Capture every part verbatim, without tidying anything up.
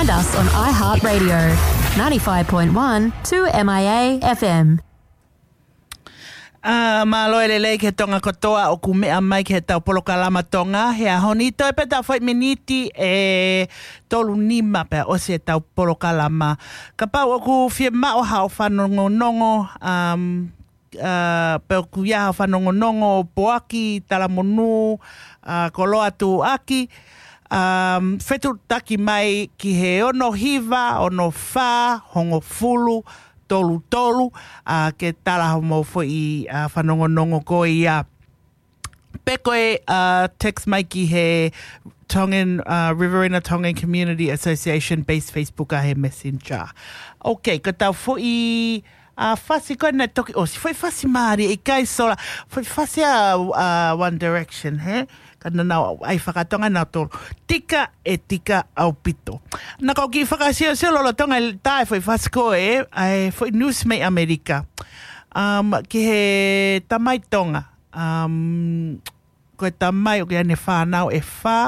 Find us on iHeartRadio, ninety-five point one two M I A F M. ʻA, mālō e lelei ki he Tonga kotoa ʻoku meʻa mai ki heʻetau polokalama Tonga he ʻaho ni. Toe pē ʻetau foʻi miniti ʻe tolu nima pea ʻosi ʻetau polokalama. Kapau ʻoku fiemaʻu haʻo fanongonongo, um, ʻa, pe ʻoku ʻi ai haʻo fanongonongo, poaki, talamonū, ʻa, koloa tuʻuaki, um, fetuʻutaki mai ki he ono hiva, ono fā, hongofulu, tolu tolu, ʻa, ke tala hoʻomou foʻi, ʻa, fanongonongo ko ia. Pe ko e, ʻa, text mai ki he Tongan, ʻa, Riverina Tongan Community Association base Facebook ʻa he Messenger. Ok, ko ʻetau foʻi, ʻa, fasi ko ē naʻe toki ʻosi. Foʻi fasi mālie, ʻikai sola. Foʻi fasi ʻa, ʻa, One Direction, he? Ka naʻa nau ʻai fakatonga nautolu. Tika ʻe tika ʻaupito. Naʻa ku kiʻi fakasiosio lolotonga e tā e foʻi fasi ko ē, ʻa e foʻi news mei ʻAmelika. Um, ki he tamai Tonga. Um, ko e tamai ʻoku ʻi ai ʻene fānau ʻe fā,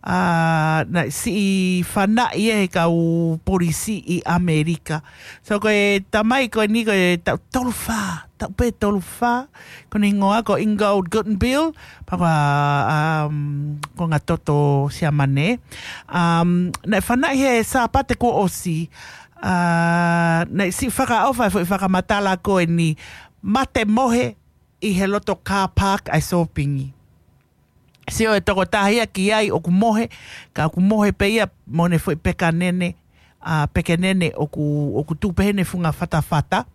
ʻa, naʻe siʻi fanaʻi ʻe he kau polisi ʻi ʻAmelika. So ko e tamai ko eni ko e taʻu tolu fā, taʻu pē tolu fā, ko ʻene hingoa ko Ingold Guttenbeil, pea ko, um, ko Ngatoto Siamane. Um, naʻe fanaʻi he Sāpate kuo ʻosi, ʻa, naʻe siʻi fakaʻofa e foʻi fakamatala ko eni, mate mohe, ʻi he loto car park ʻa e sōpingi. Sio e tokotaha ia ki ai ʻoku mohe, ka ʻoku mohe pē ia mo ʻene foʻi pekanene, ʻa, pekenene ʻoku, ʻoku tuʻu pē heʻene funga fatafata.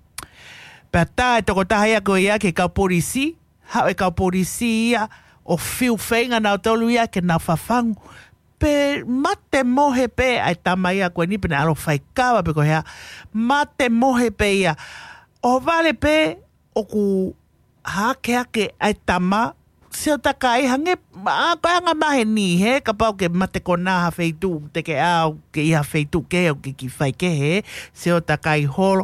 Pea tā e tokotaha ia ko ia ki he kau polisi, haʻu e kau polisi ia ʻo fiu feinga nautolu ia ke nau fafangu. Pe mate mohe pē ʻa e tama ia ko eni pe naʻe ʻalu ʻo fai kava pe ko e hā. Mate mohe pē ia. ʻO vale pē ʻoku hake hake ʻa e tama, sio takai hangē, ʻa, ko e anga maheni he, kapau ke mate konā ha feituʻu, te ke ʻalu ke ʻi ha feituʻu kehe ʻoku ke kiʻi fai kehe, sio takai holo.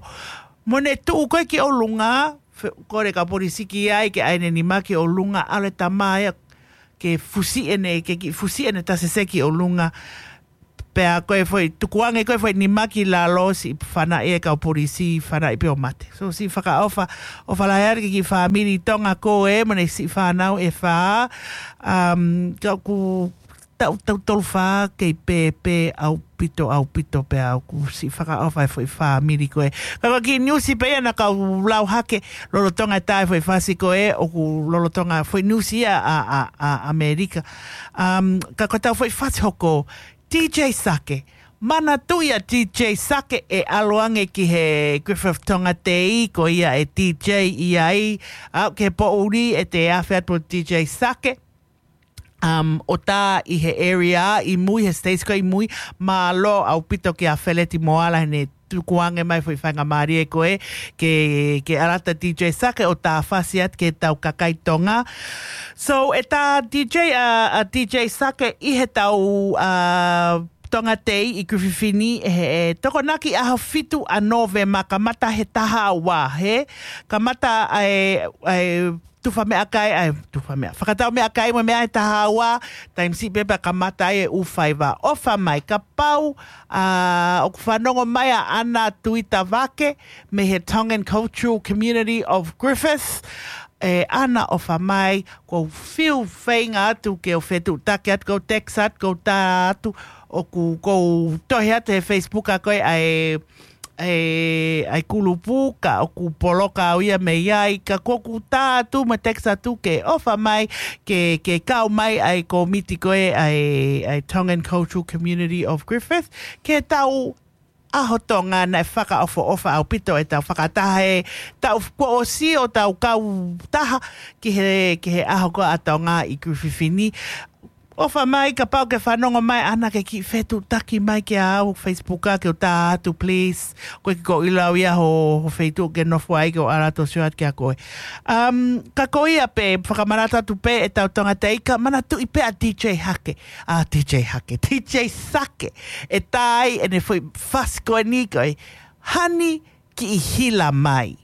Mo ʻene tuʻu ko ē ki ʻolunga, fe-, kole kau polisi ki ai, ke ʻai ʻene nima ki ʻolunga, ʻalu e tama ia ke fusi ʻene, ke kiʻi fusi ʻene tasese ki ʻolunga. Pea ko e foʻi, tukuange ko e foʻi nima ki lalo, siʻi fanaʻi e kau polisi, fanaʻi pē ʻo mate. So siʻi fakaʻofa, ʻofa lahi atu ki he kiʻi fāmili Tonga ko ē, mo ʻene siʻi fānau ʻe fā, um, ka ʻoku taʻu, taʻu tolu fā kei pēpē ʻaupito, ʻaupito pea ʻoku siʻi fakaʻofa e foʻi fāmili ko ē. Ka ko e kiʻi niusi pē ia naʻa ku lau hake, lolotonga e tā e foʻi fasi ko ē, ʻoku lolotonga foʻi niusi ia ʻa, ʻa, ʻa ʻAmelika. Um, ka ko ʻetau foʻi fasi hoko, D J Sake. Manatuʻi ʻa D J Sake ʻe ʻalu ange ki he Griffith Tonga Day, ko ia e D J ʻi ai, ʻa, ki he poʻuli ʻe te afe atu D J Sake. Um, ʻo tā ʻi he area ʻi mui, he stage ko ē ʻi mui, mālō ʻaupito kia Feleti Moala heʻene tukuange mai foʻi faingamālie ko ē, ke, ke ʻalu atu D J Sake ʻo tā fasi atu ki heʻetau kakai Tonga. So, ʻe tā D J, ʻa, ʻa D J Sake ʻi heʻetau, ʻa, Tonga Day ʻi Griffith ni, he, he Tokonaki ʻaho fitu ʻa Nōvema, kamata he taha ua, he, kamata ʻa e, ʻa e tufa meʻakai, ʻa e tufa meʻa, fakatau meʻakai mo e meʻa he taha ua, taimi siʻi pē pea kamata ai e ʻū faiva. ʻOfa mai, kapau, ʻa, ʻoku fanongo mai ʻa ʻAna Tuitavake, mei he Tongan Cultural Community of Griffith, ʻe ʻAna ʻofa mai, ʻoku ou fiu feinga atu ke u fetuʻutaki atu, ke u text atu, ke u tā atu, ʻoku, ʻoku ou tohi atu he Facebook ʻa ko ē ʻa e, ʻa e, ʻa e kulupu, ka ʻoku poloka au ia mei ai, ka ʻoku ou tā atu, mo text atu ke ʻofa mai, ke, ke kau mai ʻa e kōmiti ko ē ʻa e, ʻa e Tongan Cultural Community of Griffith, ke tau ʻaho Tonga naʻe fakaʻofoʻofa ʻaupito ʻetau fakataha he taʻu kuo ʻosi ʻo tau kau taha ki he, ki he ʻaho ko ē ʻa Tonga ʻi Griffith ni. ʻOfa mai kapau ke fanongo mai ʻAna ke kiʻi fetuʻutaki mai kia au Facebook ʻa ke u tā atu, please. Ko e kiʻi ko ʻilau ia ho, ho feituʻu ke nofo ai ke u ʻalu atu ʻo sio atu kia koe. Um, ka ko ia pē, fakamanatu atu pē ʻetau Tonga Day, ka manatuʻi pē ʻa D J Hake, ʻa D J Hake, D J Sake, ʻe tā ai ʻene foʻi fasi ko eni ko e Hani Kiʻi Hila Mai.